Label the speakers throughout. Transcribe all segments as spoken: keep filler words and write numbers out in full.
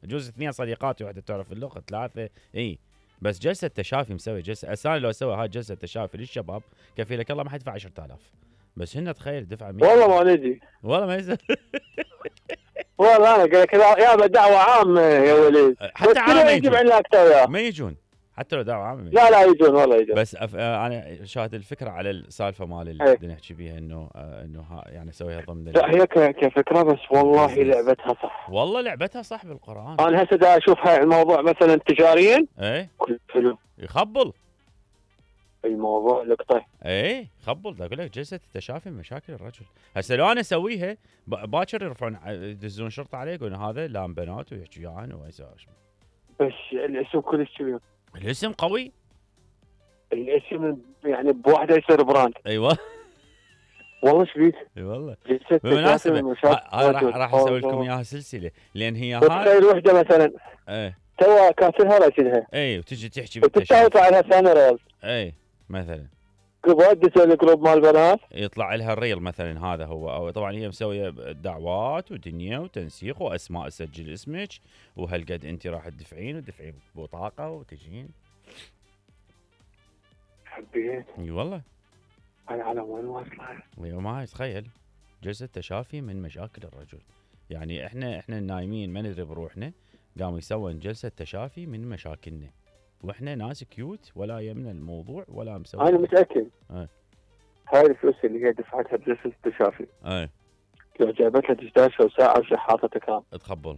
Speaker 1: يجوز اثنين صديقاتي واحده تعرف اللغه ثلاثه اي، بس جلسه تشافي مسوي جلسه اساسا لو سوى هاي جلسه تشافي للشباب كفيلك الله ما حيدفع عشرة آلاف، بس هن تخيل دفع مية.
Speaker 2: والله ما ندري
Speaker 1: والله ما يصير.
Speaker 2: والله انا قلت لك يا دعوه عامه يا وليد،
Speaker 1: حتى عامه
Speaker 2: يجيب عنا اكثر
Speaker 1: ما يجون حتى لو دعوه عامه.
Speaker 2: لا لا يجون والله يجون.
Speaker 1: بس أف... انا شاهد الفكره على السالفه مال اللي نحكي بيها انه انه يعني اسويها ضمن.
Speaker 2: لا هي كفكره بس والله لعبتها صح.
Speaker 1: والله لعبتها صح بالقران.
Speaker 2: انا هسه دا اشوف هاي الموضوع مثلا تجاريا
Speaker 1: ايه
Speaker 2: كل فيلم
Speaker 1: يخبل
Speaker 2: الموضوع لقطه.
Speaker 1: ايه خبل دا اقول لك جلسه التشافي من مشاكل الرجل. هسه لو انا اسويها باكر يرفعون يدزون شرطه عليه يقولون هذا لام بنات ويحكي وياهن ويسوي.
Speaker 2: بس الاسم كلش كبير.
Speaker 1: الاسم قوي.
Speaker 2: الاسم يعني بواحده يصير براند.
Speaker 1: ايوه
Speaker 2: والله شبيك.
Speaker 1: اي والله.
Speaker 2: بالمناسبه
Speaker 1: راح راح اسوي لكم اياها سلسله لان هي
Speaker 2: هاي تخيل وحده مثلا
Speaker 1: ايه
Speaker 2: تو كاسرها راسلها
Speaker 1: اي وتجي تحكي
Speaker 2: بالتشافي على ثاني ريال
Speaker 1: اي مثلا
Speaker 2: قبل تسوي الجروب مال بنات
Speaker 1: يطلع لها الريل مثلا هذا هو، او طبعا هي مسويه دعوات ودنيا وتنسيق واسماء اسجل اسمك وهالقد انت راح تدفعين وتدفعين بطاقه وتجين.
Speaker 2: حبيت
Speaker 1: اي والله.
Speaker 2: انا على وين واصله؟
Speaker 1: ايوه ما تخيل جلسه تشافي من مشاكل الرجل. يعني احنا احنا النايمين ما ندري بروحنا قاموا يسوون جلسه تشافي من مشاكلنا واحنا ناس كيوت ولا يمنا الموضوع ولا مسوي.
Speaker 2: انا متاكد
Speaker 1: ايه
Speaker 2: هاي الفلوس اللي هي دفعتها بجلسه التشافي
Speaker 1: ايه
Speaker 2: لو جابت لها دشداشه وساعه وشحاطه كام
Speaker 1: تخبل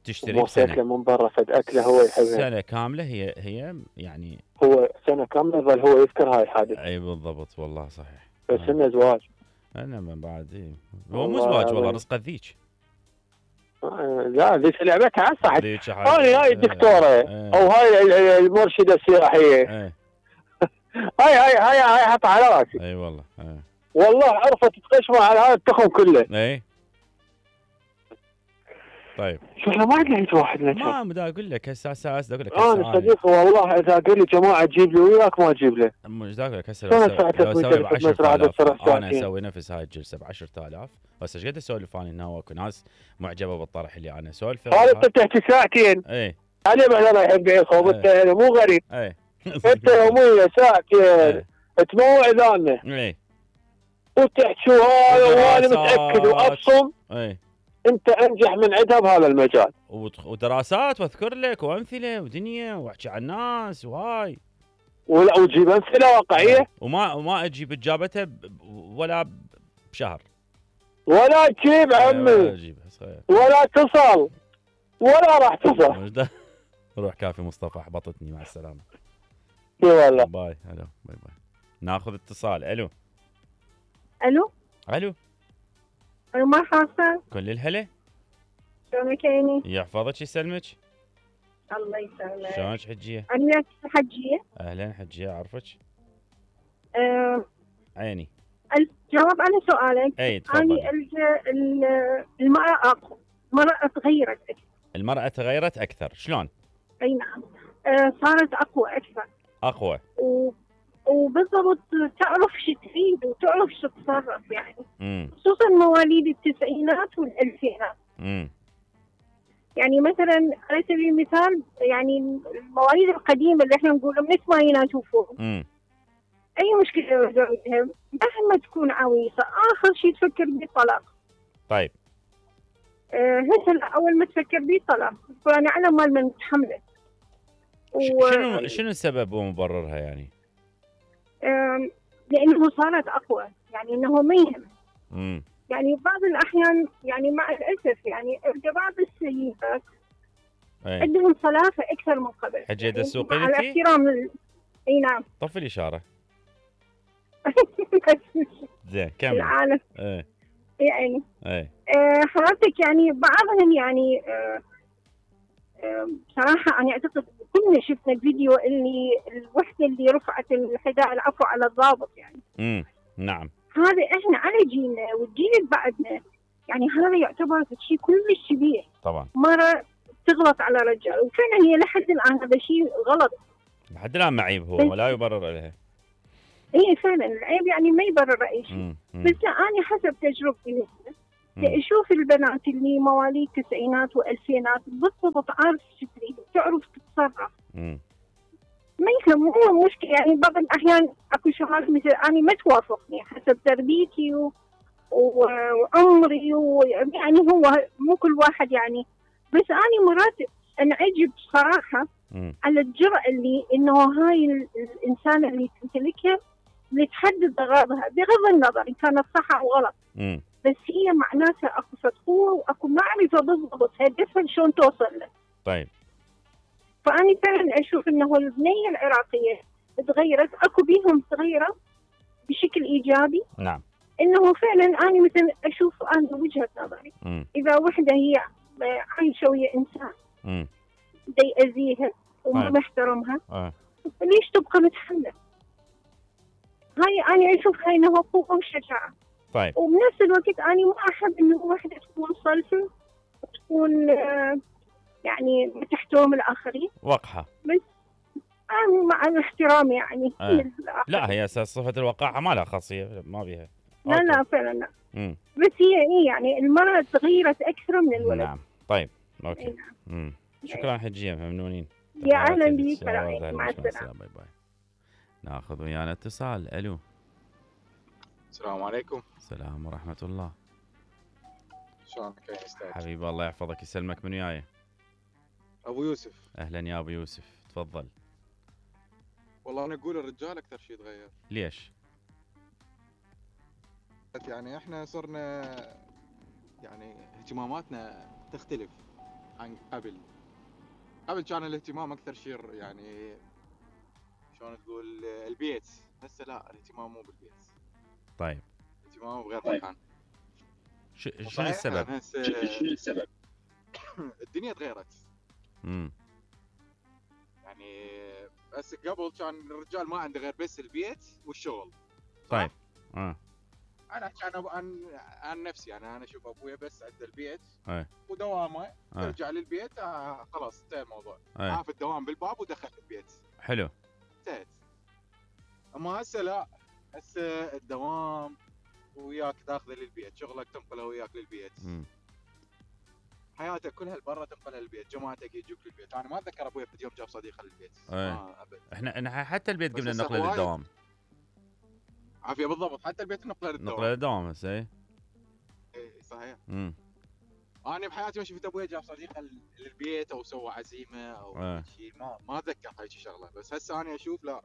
Speaker 1: تشتري بسنه
Speaker 2: من برا فد اكله هو يحبها
Speaker 1: سنه كامله. هي هي يعني
Speaker 2: هو سنه كامله ظل هو يذكر هاي الحادث.
Speaker 1: اي بالضبط والله صحيح.
Speaker 2: بس آه. انه زواج.
Speaker 1: انا من بعد ايه هو مو زواج والله رزقه ذيك.
Speaker 2: آه لا ذيك لعبتها صح. هاي هاي الدكتوره
Speaker 1: اه.
Speaker 2: او هاي المرشده السياحيه.
Speaker 1: اه.
Speaker 2: هاي هاي هاي هاي حط على راسي.
Speaker 1: اي والله. اه.
Speaker 2: والله عرفت تقشمه على هذا التخم كله.
Speaker 1: اي طيب
Speaker 2: شو احنا ما عندنا هيك واحد نتف.
Speaker 1: ما بدي اقول لك هسه هسه هسه اقول لك
Speaker 2: انا صديق والله اذا قال لي جماعه تجيب لي وياك ما اجيب له.
Speaker 1: مش اقول لك هسه لو اسوي ب عشرة آلاف انا اسوي نفس هاي الجلسه ب عشرة آلاف. بس ايش قد اسولف انا انه اكو ناس معجبه بالطرح اللي انا اسولفه.
Speaker 2: هذا انت بتحكي ساعتين.
Speaker 1: اي
Speaker 2: انا مثلا احب يخوض انت انا مو غريب.
Speaker 1: اي
Speaker 2: انت يوميا ساعتين تموع اذاننا.
Speaker 1: اي
Speaker 2: وتحكي هذا وانا متاكد وابصم.
Speaker 1: اي
Speaker 2: انت انجح من عندها بهذا المجال.
Speaker 1: ودراسات واذكر لك وامثله ودنيا واحكي عن الناس وهاي
Speaker 2: ولا وتجيب امثله واقعيه
Speaker 1: وما وما اجيب اجابتها ولا بشهر
Speaker 2: ولا تجيب عمي
Speaker 1: ولا اجيب
Speaker 2: ولا تصل ولا راح تصل.
Speaker 1: روح كافي مصطفى احبطتني مع السلامه.
Speaker 2: اي والله
Speaker 1: باي. الو باي باي. ناخذ اتصال. الو
Speaker 3: الو
Speaker 1: الو
Speaker 3: مرحبا.
Speaker 1: كل الهلا.
Speaker 3: شلونك عيني؟
Speaker 1: يحفظك يسلمك.
Speaker 3: الله يسلمك.
Speaker 1: شلونك حجيه؟
Speaker 3: انا حجيه.
Speaker 1: اهلا حجيه اعرفك.
Speaker 3: أه
Speaker 1: عيني.
Speaker 3: الجواب على سؤالك.
Speaker 1: اي تفضلي.
Speaker 3: انا المراه اقوى. المراه تغيرت اكثر.
Speaker 1: المراه تغيرت اكثر شلون؟
Speaker 3: اي نعم. أه صارت اقوى اكثر.
Speaker 1: اقوى.
Speaker 3: و... وبالضبط تعرف شو تريد وتعرف شو تتصرف يعني.
Speaker 1: امم
Speaker 3: خصوصا مواليد التسعينات والالفينات.
Speaker 1: امم
Speaker 3: يعني مثلا على سبيل المثال يعني المواليد القديمه اللي احنا نقول بنسمع يناشوفوهم.
Speaker 1: امم
Speaker 3: اي مشكله زوجها مهما تكون عويصه اخر شيء تفكر بالطلاق.
Speaker 1: طيب
Speaker 3: أه هسه اول ما تفكر بالطلاق فانا على مال من تحملت.
Speaker 1: و... شنو شنو السبب ومبررها يعني؟
Speaker 3: أه لانه صارت اقوى يعني انه ما يهم.
Speaker 1: امم
Speaker 3: يعني بعض الأحيان يعني مع الأسف يعني بعض السيدات عندهم صلافة أكثر من قبل.
Speaker 1: حجة يعني السوق
Speaker 3: على احترام ال... أي نعم.
Speaker 1: طفي الإشارة. زين كمل.
Speaker 3: العالم.
Speaker 1: ايه
Speaker 3: يعني
Speaker 1: ايه
Speaker 3: آه حضرتك يعني بعضهم يعني آه آه بصراحة أنا أعتقد كلنا شفنا الفيديو اللي الوحدة اللي رفعت الحذاء العفو على الضابط يعني.
Speaker 1: امم نعم.
Speaker 3: هذا احنا على جيلنا والجيل اللي بعدنا يعني هذا يعتبر شيء كلش كبير.
Speaker 1: طبعا.
Speaker 3: مرة تغلط على رجال وفعلا هي لحد الآن هذا شيء غلط.
Speaker 1: لحد الآن معيب هو ولا يبرر لها.
Speaker 3: ايه فعلا العيب يعني ما يبرر اي شيء. بس لا انا حسب تجربتي اشوف البنات اللي مواليد التسعينات والفينات بالضبط عارف تدري تعرف تتصرف.
Speaker 1: امم
Speaker 3: ما يهمهم مشكله، يعني بعض الاحيان اكو شغلات مثل انا ما توافقني حسب تربيتي و... وعمري، ويعني هو مو كل واحد يعني، بس انا مرات انعجب صراحه
Speaker 1: مم.
Speaker 3: على الجرأة اللي انه هاي الانسانه اللي تمتلكها اللي تحدد اغراضها بغض النظر ان كانت صح او غلط.
Speaker 1: مم.
Speaker 3: بس هي معناتها اكو فتقوه واكو معرفه بالضبط هدفها شلون توصل له.
Speaker 1: طيب.
Speaker 3: فاني فعلا اشوف انه البنيه العراقيه تغيرت، اكو بيهم صغيره بشكل ايجابي.
Speaker 1: نعم.
Speaker 3: انه فعلا انا مثلا اشوف انا وجهه نظري
Speaker 1: مم.
Speaker 3: اذا وحده هي عايشه ويا انسان
Speaker 1: مم.
Speaker 3: دا يأذيها وما
Speaker 1: طيب.
Speaker 3: محترمها،
Speaker 1: آه.
Speaker 3: ليش تبقى متحمله؟ هاي انا اشوف هاي انها قوه وشجاعه.
Speaker 1: طيب.
Speaker 3: وبنفس الوقت انا ما احب انه وحده تكون صلفه وتكون آه يعني تحترم الاخرين.
Speaker 1: وقحه.
Speaker 3: بس انا مع الاحترام يعني
Speaker 1: آه. لا هي اساس صفه الوقاحه ما لها خاصيه ما بيها.
Speaker 3: لا أوكي. لا فعلا لا.
Speaker 1: مم.
Speaker 3: بس هي ايه يعني المراه تغيرت اكثر من الولد.
Speaker 1: نعم. طيب اوكي.
Speaker 3: نعم.
Speaker 1: مم. شكرا حجيه ممنونين.
Speaker 3: يا اهلا بك. مع السلامه.
Speaker 1: باي باي. ناخذ ويانا اتصال. الو.
Speaker 4: السلام عليكم.
Speaker 1: السلام ورحمه الله.
Speaker 4: شلونك يا استاذ؟
Speaker 1: حبيبي الله يحفظك يسلمك. من وياي؟
Speaker 4: ابو يوسف.
Speaker 1: اهلا يا ابو يوسف تفضل.
Speaker 4: والله انا اقول الرجال اكثر شيء تغير.
Speaker 1: ليش؟
Speaker 4: يعني احنا صرنا يعني اهتماماتنا تختلف عن قبل. قبل كان الاهتمام اكثر شيء يعني شلون تقول البيت، هسه لا الاهتمام مو بالبيت.
Speaker 1: طيب.
Speaker 4: الاهتمام بغير مكان.
Speaker 1: شنو السبب؟
Speaker 4: شنو السبب؟ الدنيا تغيرت.
Speaker 1: امم
Speaker 4: يعني هسه قبل كان الرجال ما عنده غير بس البيت والشغل.
Speaker 1: طيب. اه
Speaker 4: انا احكي عن عن عن نفسي، يعني انا اشوف ابويا بس عنده البيت
Speaker 1: اي
Speaker 4: ودوامه،
Speaker 1: أي.
Speaker 4: ترجع للبيت آه خلاص انتهى الموضوع،
Speaker 1: أي.
Speaker 4: عاف الدوام بالباب ودخل البيت.
Speaker 1: حلو.
Speaker 4: انتهت. اما هسه لا، هسه الدوام وياك تاخذه للبيت، شغلك تنقله وياك للبيت.
Speaker 1: مم.
Speaker 4: حياتك كلها برا تنقلها للبيت، جماعتك يجوك للبيت. انا ما اتذكر ابويا في يوم جاب صديقه للبيت.
Speaker 1: ما ابد. احنا احنا حتى البيت قبل
Speaker 4: نقله
Speaker 1: نقله للدوام.
Speaker 4: عافيه بالضبط، حتى البيت نقله للدوام.
Speaker 1: نقله للدوام هسه. اي
Speaker 4: اي صحيح.
Speaker 1: امم
Speaker 4: انا بحياتي ما شفت ابويا جاب صديقه للبيت او سوى عزيمه او شيء، ما ما اتذكر هاي شغله. بس هسه انا اشوف لا،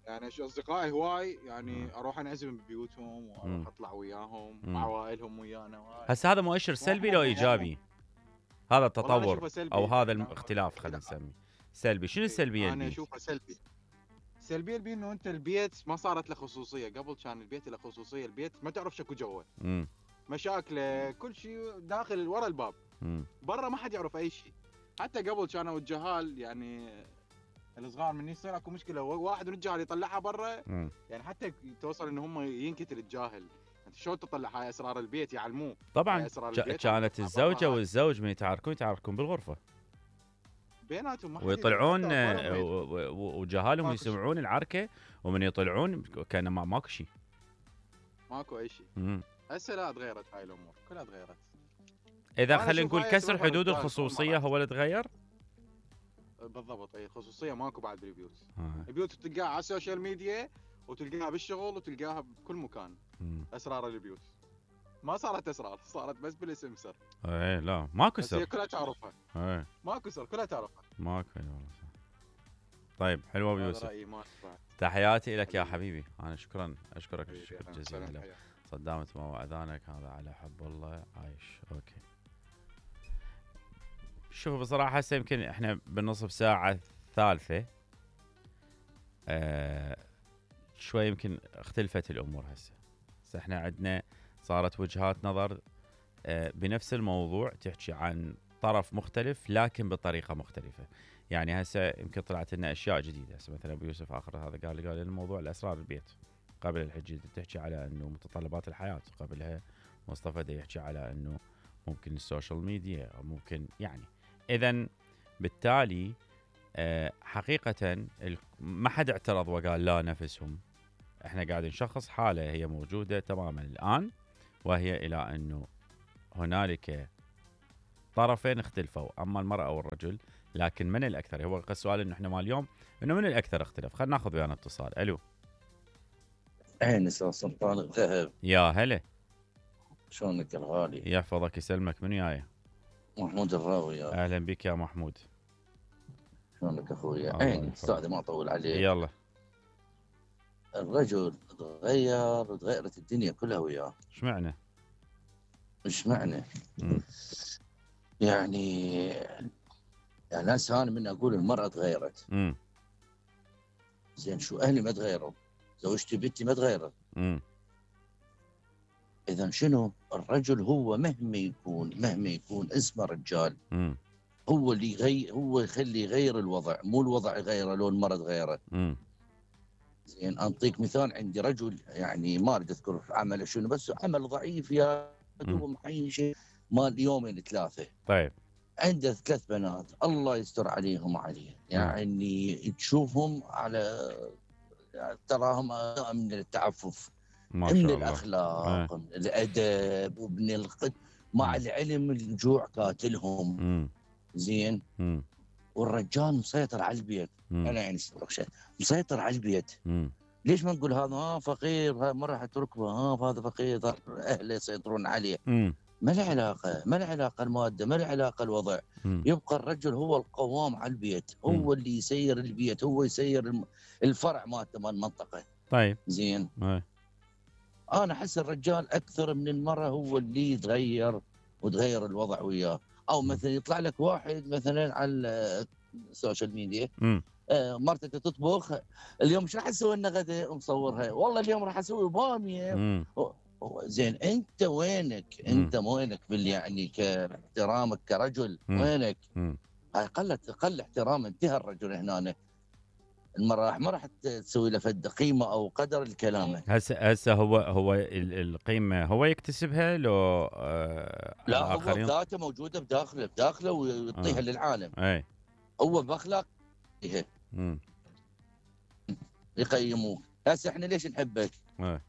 Speaker 4: يعني اشوف اصدقائي هواي يعني
Speaker 1: مم.
Speaker 4: اروح انعزم ببيوتهم واروح اطلع وياهم
Speaker 1: مم.
Speaker 4: عوائلهم ويانا.
Speaker 1: هسه هذا مؤشر سلبي لو ايجابي؟ هذا التطور او هذا
Speaker 4: أنا
Speaker 1: الاختلاف خلينا نسميه سلبي. شنو السلبيه؟
Speaker 4: انا اشوفه سلبي. السلبيه اللي انه انت البيت ما صارت له خصوصيه. قبل كان البيت له خصوصيه، البيت ما تعرف شكو جوا،
Speaker 1: امم
Speaker 4: مشاكله كل شيء داخل ورا الباب،
Speaker 1: امم
Speaker 4: برا ما حد يعرف اي شيء. حتى قبل كانوا الجهال يعني الصغار من يصير اكو مشكله واحد من الجهال يطلعها برا، يعني حتى توصل ان هم ينكتل الجاهل. انت شلون تطلع هاي اسرار البيت؟ يعلموه
Speaker 1: طبعا. كانت الزوجه والزوج من يتعاركون يتعاركون بالغرفه
Speaker 4: بيناتهم، ما
Speaker 1: ويطلعون وجهالهم يسمعون العركه، ومن يطلعون كان ما ماكو شيء،
Speaker 4: ماكو اي شيء. هسه لا تغيرت هاي الامور كلها تغيرت.
Speaker 1: اذا خلينا نقول كسر حدود الخصوصيه هو اللي تغير.
Speaker 4: بالضبط. اي خصوصيه ماكو بعد بالبيوت.
Speaker 1: آه.
Speaker 4: البيوت تلقاها على السوشيال ميديا وتلقاها بالشغل وتلقاها بكل مكان.
Speaker 1: مم.
Speaker 4: اسرار البيوت ما صارت اسرار، صارت بس بالاسم سر.
Speaker 1: اي لا ماكو سر.
Speaker 4: هي كلها تعرفها.
Speaker 1: اي
Speaker 4: ماكو سر كلها تعرفها.
Speaker 1: ماكو والله. طيب حلو ابو يوسف.
Speaker 4: رأيي ما
Speaker 1: تحياتي لك يا حبيبي. انا شكرا اشكرك الشكر جزيلا. صدامت ما واذانك هذا على حب الله عايش. اوكي. شوف بصراحه هسه يمكن احنا بالنصف ساعه الثالثه آه شوي يمكن اختلفت الامور. هسه هسه احنا عندنا صارت وجهات نظر آه بنفس الموضوع تحكي عن طرف مختلف لكن بطريقه مختلفه. يعني هسه يمكن طلعت لنا اشياء جديده. هسه مثلا ابو يوسف اخر هذا قال لي قال الموضوع الاسرار البيت. قبل الحجي تحكي على انه متطلبات الحياه، قبلها مصطفى دا يحكي على انه ممكن السوشيال ميديا او ممكن يعني. اذا بالتالي أه حقيقه ما حد اعترض وقال لا نفسهم. احنا قاعدين نشخص حاله هي موجوده تماما الان، وهي الى انه هنالك طرفين اختلفوا، اما المراه والرجل، لكن من الاكثر؟ هو السؤال انه احنا مال اليوم انه من الاكثر اختلف. خلينا ناخذ ويانا اتصال. الو.
Speaker 5: انس سلطان الذهب.
Speaker 1: يا هلا.
Speaker 5: شلونك الغالي؟
Speaker 1: يحفظك يسلمك. من وياي؟
Speaker 5: محمود الراوي. يا
Speaker 1: اهلا بك يا محمود.
Speaker 5: شلونك اخويا؟ عيني استاذ ما اطول عليك.
Speaker 1: يلا.
Speaker 5: الرجل تغير وتغيرت الدنيا كلها وياه.
Speaker 1: ايش معنى؟
Speaker 5: ايش معنى؟ يعني يعني هسه انا من اقول المراه تغيرت.
Speaker 1: امم
Speaker 5: زين شو اهلي ما تغيروا؟ زوجتي بنتي ما تغيرت.
Speaker 1: امم
Speaker 5: اذا شنو؟ الرجل هو مهما يكون مهما يكون اسمه رجال.
Speaker 1: امم
Speaker 5: هو اللي يغير، هو يخلي يغير الوضع، مو الوضع يغيره لو المراه تغيرت.
Speaker 1: امم
Speaker 5: زين انطيك مثال. عندي رجل يعني ما اريد اذكر عمله شنو، بس عمل ضعيف يا دوب محيش مال يومين ثلاثه.
Speaker 1: طيب.
Speaker 5: عنده ثلاث بنات الله يستر عليهم عليه، يعني تشوفهم على يعني تراهم من التعفف،
Speaker 1: ما شاء
Speaker 5: من
Speaker 1: الله.
Speaker 5: الاخلاق،
Speaker 1: آه.
Speaker 5: من الادب، ومن القد مع العلم الجوع قاتلهم.
Speaker 1: امم
Speaker 5: زين.
Speaker 1: امم
Speaker 5: والرجال مسيطر على البيت.
Speaker 1: مم.
Speaker 5: انا يعني شيء مسيطر على البيت.
Speaker 1: امم
Speaker 5: ليش ما نقول هذا ها فقير، ها ما راح تركبه، ها هذا فقير، اهله يسيطرون عليه.
Speaker 1: امم
Speaker 5: ما له علاقه، ما له علاقه الماده، ما له علاقه الوضع.
Speaker 1: مم.
Speaker 5: يبقى الرجل هو القوام على البيت، هو
Speaker 1: مم.
Speaker 5: اللي يسير البيت، هو يسير الم- الفرع مالته مال المنطقه.
Speaker 1: طيب.
Speaker 5: زين.
Speaker 1: ايه.
Speaker 5: انا احس الرجال اكثر من المراه هو اللي يتغير وتغير الوضع وياه. او مثلا يطلع لك واحد مثلا على السوشيال ميديا،
Speaker 1: امم
Speaker 5: آه، مرتك تطبخ اليوم شو راح اسوي لنا غدا، مصورها والله اليوم راح اسوي باميه.
Speaker 1: امم
Speaker 5: زين انت وينك؟ انت وينك بال يعني كاحترامك كرجل؟
Speaker 1: مم.
Speaker 5: وينك؟
Speaker 1: امم
Speaker 5: هاي قلت قل احترام. انتهى الرجل هنا. المراه ما راح تسوي له فد قيمه او قدر الكلام.
Speaker 1: هسه هسه هو هو ال- القيمه هو يكتسبها لو آه
Speaker 5: لا هو
Speaker 1: الآخرين؟
Speaker 5: بذاته موجوده بداخله بداخله ويعطيها
Speaker 1: آه.
Speaker 5: للعالم.
Speaker 1: اي.
Speaker 5: هو باخلاق
Speaker 1: امم
Speaker 5: يقيموك. هسه احنا ليش نحبك؟
Speaker 1: اي.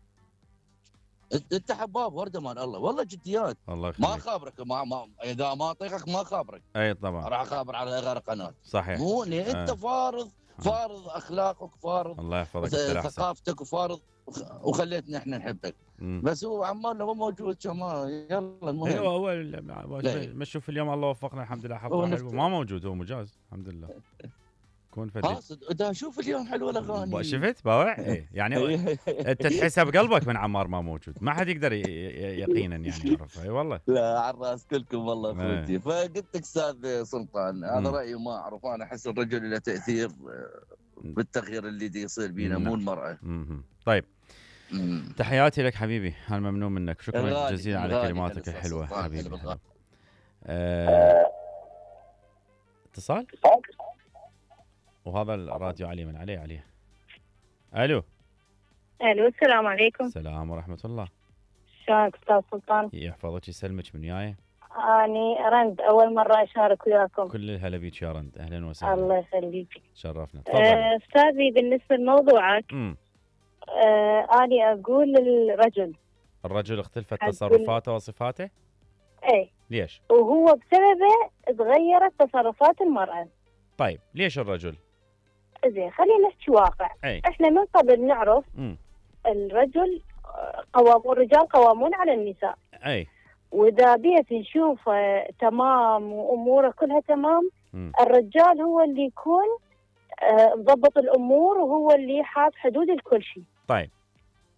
Speaker 5: انت حباب ورده مال الله، والله جديات.
Speaker 1: الله
Speaker 5: ما
Speaker 1: يخليك.
Speaker 5: خابرك، ما, ما اذا ما اطيقك ما خابرك،
Speaker 1: اي طبعا.
Speaker 5: راح اخابر على غير قناه.
Speaker 1: صحيح.
Speaker 5: مو انت
Speaker 1: آه.
Speaker 5: فارض فارض اخلاقك، فارض
Speaker 1: الله يحفظك. انت الأحسن.
Speaker 5: ثقافتك، وفارض وخ- وخليتنا احنا نحبك.
Speaker 1: مم.
Speaker 5: بس هو عمالنا هو موجود كما يلا المهم.
Speaker 1: ايوه هو ال- ما تشوف اليوم الله وفقنا الحمد لله
Speaker 5: هو
Speaker 1: حفظه
Speaker 5: نفس-
Speaker 1: حلو. ما موجود هو مجاز الحمد لله. كون فتي.
Speaker 5: قاصد اذا شوف اليوم حلوه الاغاني.
Speaker 1: شفت باوع؟ ايه يعني انت تحسها بقلبك من عمار ما موجود، ما حد يقدر ي- ي- يقينا يعني يعرف. اي والله.
Speaker 5: لا على الراس كلكم والله
Speaker 1: إيه.
Speaker 5: اخوتي. فقلت لك استاذ سلطان هذا
Speaker 1: مم.
Speaker 5: رايي ما اعرف. انا احس الرجل له تاثير آه، بالتغيير اللي دي يصير بينا، مو
Speaker 1: نعم.
Speaker 5: المراه.
Speaker 1: مم. طيب
Speaker 5: مم.
Speaker 1: تحياتي لك حبيبي، انا ممنون منك. شكرا
Speaker 5: الغالي-
Speaker 1: جزيلا على
Speaker 5: الغالي
Speaker 1: كلماتك
Speaker 5: أنس
Speaker 1: الحلوه
Speaker 5: سلطان،
Speaker 1: حبيبي.
Speaker 5: حلو الغالي.
Speaker 1: آه، اتصال وهذا الراديو علي من عليه عليه. الو.
Speaker 3: الو السلام عليكم.
Speaker 1: السلام ورحمه الله.
Speaker 3: شلونك استاذ سلطان؟
Speaker 1: يحفظك يسلمك. من وياي؟
Speaker 3: اني رند اول مره اشارك وياكم.
Speaker 1: كل الهلا بيك يا رند. اهلا وسهلا.
Speaker 3: الله يخليك.
Speaker 1: تشرفنا. تفضل.
Speaker 3: آه، استاذي بالنسبه لموضوعك،
Speaker 1: امم
Speaker 3: آه اني اقول للرجل
Speaker 1: الرجل اختلفت
Speaker 3: أقول-
Speaker 1: تصرفاته وصفاته.
Speaker 3: ايه،
Speaker 1: ليش؟
Speaker 3: وهو بسببه تغيرت تصرفات المراه.
Speaker 1: طيب ليش الرجل؟
Speaker 3: زين خلينا نحكي واقع.
Speaker 1: اي.
Speaker 3: احنا من قبل نعرف
Speaker 1: امم
Speaker 3: الرجل آه، قوام الرجال قوامون على النساء،
Speaker 1: اي.
Speaker 3: واذا بيت نشوف آه، تمام واموره كلها تمام،
Speaker 1: مم.
Speaker 3: الرجال هو اللي يكون آه، مضبط الامور، وهو اللي حاط حدود لكل شيء.
Speaker 1: طيب